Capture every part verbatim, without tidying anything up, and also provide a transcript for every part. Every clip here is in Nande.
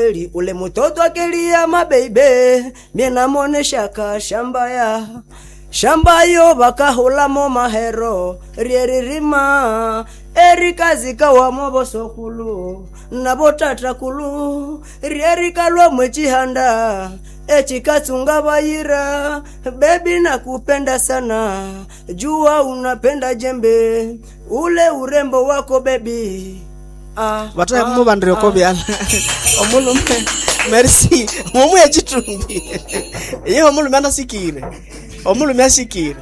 Eli, ule mutoto akelia mabeibe mie namoneshaka shamba ya shamba yo bakahulamo mahero ryeririma erikazikawamo bosokulu nabo tatakulu ryerikalwa mwechihanda echikatsunga bayira. Bebi, nakupenda sana, jua unapenda jembe ule urembo wako bebi. Ah, Vataya ah, muvandire ah. kovyala omulume merci mumuye chitumbi iye omulume anasikire omulume asikire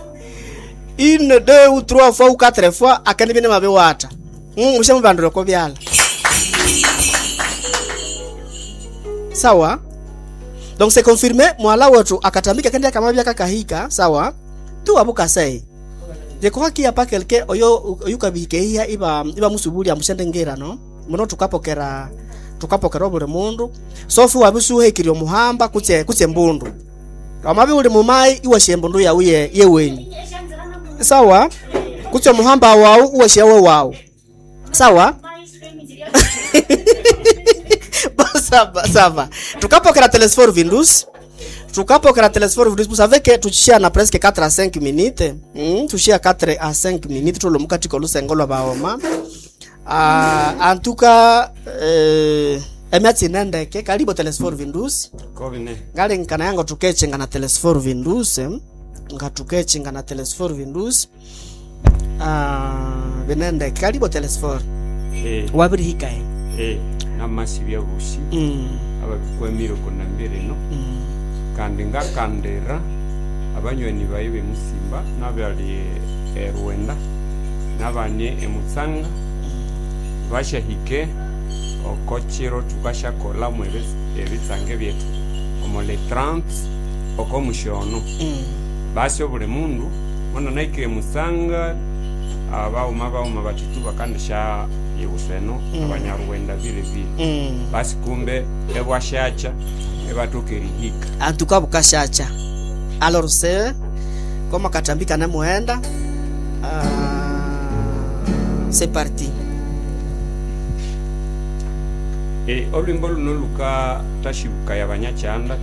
une, deux ou trois fois ou quatre fois akende bine mabiwata mushe muvandire kovyala sawa. Donc c'est confirmé, mwala wetu akatambika kende akamabya kakahika sawa tu abukasei. Je crois qu'il y a pas quelqu'un oyo oyukabikeiya iba iba musubuli amushende ngira no muno tukapokera tukapokera obuli mundu sofu wabisuhekirya omuhamba kutse kutse mbundu amabi uli mumai iwashe embundu yawu ye yewenyu sawa kutse omuhamba wawu iwashe we wawu sawa. Bon, ça va, ça va. Tukapokera Telesfor Vindus. Tukapokera Telesfor Vindus, vous savez que tuchishia na presque quatre à cinq minutes. Mm, tuchishia quatre à cinq minutes tulo mukati kolusengo lwa baoma. Ah, en tout cas euh emiatsi nendeke karibu Telesfor Vindus. Kovine. Ngali nkana yango tukechenga na Telesfor Vindus. Eh? Nga tukechenga na Telesfor Vindus. Ah, binendeke karibu Telesfor. Eh, Wabiri hikae. eh, namasi byabusi Mm. ababikwemire kunambire no Mm. kandi ngakandira abanywani bayi bemusimba nabali erwenda nabanye emutsanga bashahike okochiro tukashakolamu ebi- ebitsange byetu omo le trente oko mushono Mm. basi obuli mundu mona naikire musanga abauma bauma batitu bakandisha iwuseno Mm. abanyarwenda vile vile Mm. basi kumbe ebwashacha ebatoka erihika En tout cas bukashacha. Alors c'est comme katambika na muenda. Euh, c'est parti. E, olwimbo luno lukatashibukaya abanyachanda.